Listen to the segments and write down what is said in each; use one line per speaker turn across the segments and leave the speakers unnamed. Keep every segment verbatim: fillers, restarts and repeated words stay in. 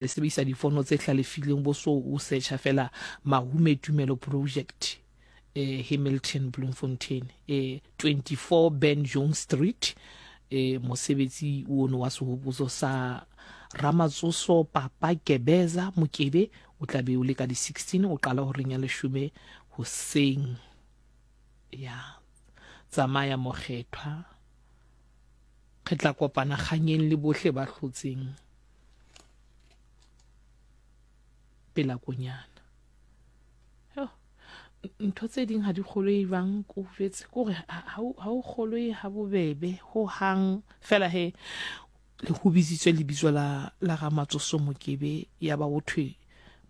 Le sebedisa difono tse hlalefileng bo so o searcha fela Mahume Tumelo Project eh Hamilton Bloemfontein eh twenty-four Ben Jones Street eh mosebetsi ono wa sehopotso sa Ramatsoso Papa Kebeza Mokebe o tla be o le ka di sixteen o qala horeng ya leshome hoseng. Ya tsamaya mokgethwa, re tla kopana kganyeng le bohle ba hlotseng pela konyana. Yo, ntho tse ding ha di kgolwe jwang ko jwetse kore ha o kgolwe ha bobebe ho hang fela he le ho bitsitswe lebitso la la Ramatsoso Mokebe ya ba ho thwe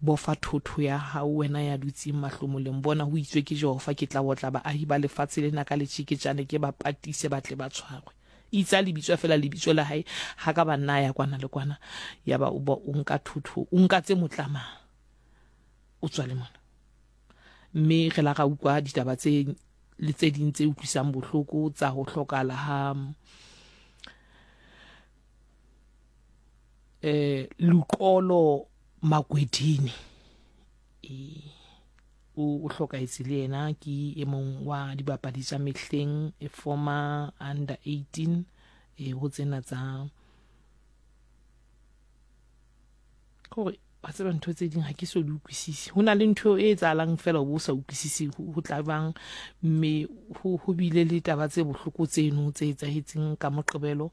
bofa thotho ya hao wena ya dutseng mahlomoleng bona ho itswe ke Jehova ke tla otla baahi ba lefatshe lena ka letjeketjane ke ba patise ba tle ba tshwarwe. Itse a le bitswa fela lebitso la hae ha ka ba nna ya kwana le kwana ya ba o ba o nka thotho o nka tse motlamang o tswa le mona. Mme re la ra utlwa ditaba tse le tse ding tse utlwisang bohloko tsa ho hlokahala ha eh Luqolo Makwedini e o hlokahetse le yena ke e mong wa dibapadi tsa mehleng e former under eighteen e ho tsena tsa gore wa tseba ntho tse ding ha ke so di utlwisise. Ho na le ntho e etsahalang fela o bo sa utlwisise ho tla bang mme ho ho bile le taba tse bohloko tseno tse etsahetseng ka Moqebelo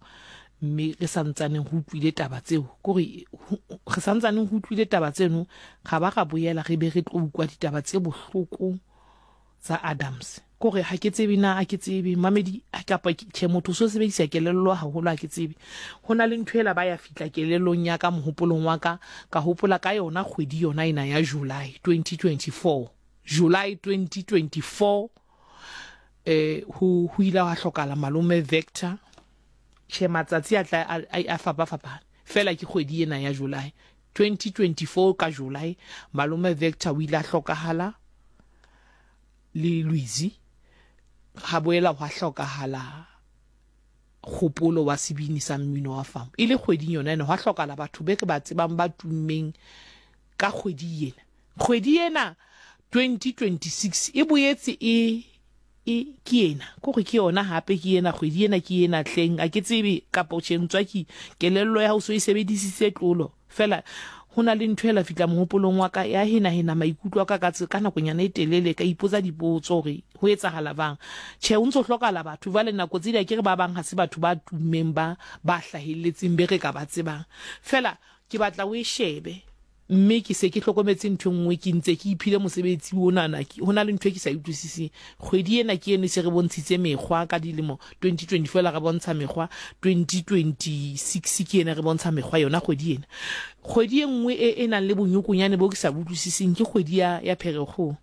mme re sa ntsaneng ho utlwile taba tseo kore re sa ntsaneng ho utlwile taba tseno ga ba ga boela re be re tlo utlwa ditaba tse bohloko tsa Adams kore ha ke tsebe na a ke tsebe mamedi kapa tjhe motho so sebedisa kelello haholo ha ke tsebe ho na le ntho ela ba ya fitla kelellong ya ka mohopolong wa ka ka hopola ka yona kgwedi yona ena ya July twenty twenty-four July twenty twenty-four eh ho ho ile ha hlokala malome Vector tjhe matsatsi a tla a fapafapana fela ke kgwedi ena ya July twenty twenty-four ka July malome Vector o ile a hlokahala le Luizi ha boela hwa hlokahala kgopolo wa sebini sa mmino wa famo e le kgweding yona ena hwa hlokala batho be re ba tsebang ba tummeng ka kgwedi ena kgwedi ena twenty twenty-six e boetse e e ke ena kore ke yona hape ke ena kgwedi ena ke ena tleng a ke tsebe kapa tjhe ntswa ke kelello ya hao so e sebedisitse tlolo fela ho na le ntho ela fitla mohopolong wa ka ya hena hena maikutlo a ka ka ka nakonyana e telele ka ipotsa dipotso hore ho etsahala bang tjhe o ntso hlokala batho jwale nako tse di ke re ba bang ha se batho ba tummeng ba ba hlahelletseng be re ka ba tsebang fela ke batla o e shebe mme ke se ke hlokometse ntho nngwe ke ntse ke iphile mosebetsi onana ho na le ntho e ke sa utlwisiseng kgwedi ena ke eno e se re bontshitse mekgwa ka dilemo twenty twenty-four la re bontsha mekgwa twenty twenty-six ke ena re bontsha mekgwa yona kgwedi ena kgwedi e nngwe e e nang le bonyokonyane bo ke sa utlwisiseng ke kgwedi ya ya Pherekgong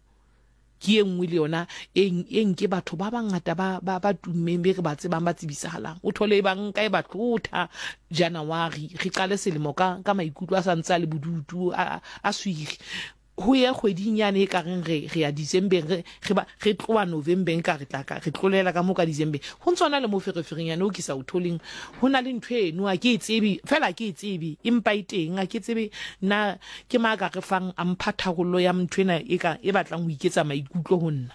ke e nngwe le yona e e nke batho ba bangata ba ba ba tummeng be re ba tsebang ba tsebisahalang o thole e bang ka e ba tlotha January re qale selemo ka ka maikutlo a sa ntse a le bodutu a a swiri ho ya kgweding yane e ka reng re re ya December re re ba re tloha November ka re tla ka re tlolela ka mo ka December ho ntsona le mo ferefereng yane o ke sa o tholeng ho na le ntho eno a ke e tsebe fela ke e tsebe empa e teng a ke tsebe na ke ma ka re fang a mpha tharollo ya ntho ena e ka e batlang ho iketsa maikutlo ho nna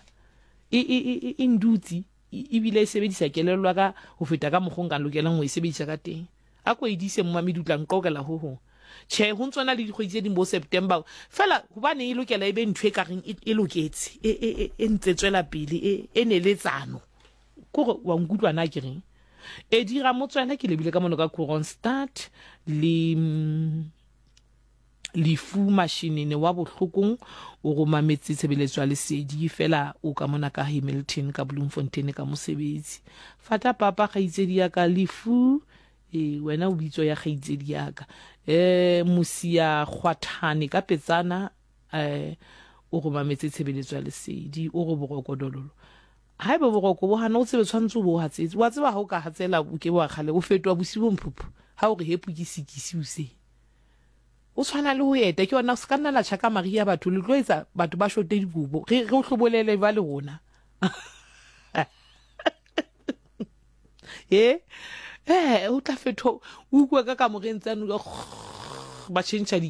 e e e e ndutsi ebile e sebedisa kelello ka ho feta ka mokgwa nka lokelang ho e sebedisa ka teng a ko e dise mmamedi o tla nqokela ho hong tjhe ho ntsona le dikgwedi tse ding bo September fela hobane e lokela e be ntho e ka reng e loketse e e e ntse tswela pele e e neletsano kore wa nkutlwa na ke reng e dira motswela ke lebile ka mono ka Kroonstad le Lefu Mashinini wa bohlokong o romametse tshebeletso ya lesedi fela o ka mona ka Hamilton ka Bloemfontein ka mosebetsi fata papa kgaitsedi ya ka Lefu e wena o bitso ya kgaitsedi ya ka eh Mosia Kgwathane ka Petsana eh o romametse tshebeletso ya lesedi o re boroko dololo haeba boroko bo hana o tsebe tshwantse o bo hatsetse wa tseba ha o ka hatsela o ke wa kgale o fetoha bosiu mphuphu ha o re hepu ke sikisi o se o tshwana le ho eta ke yona se ka nna la tjhaka maria batho le tlo etsa batho ba shote dikobo re re o hlobolele ba le rona e eh o tla fetho o utlwa ka kamoreng tsano ka ba tšhentšha di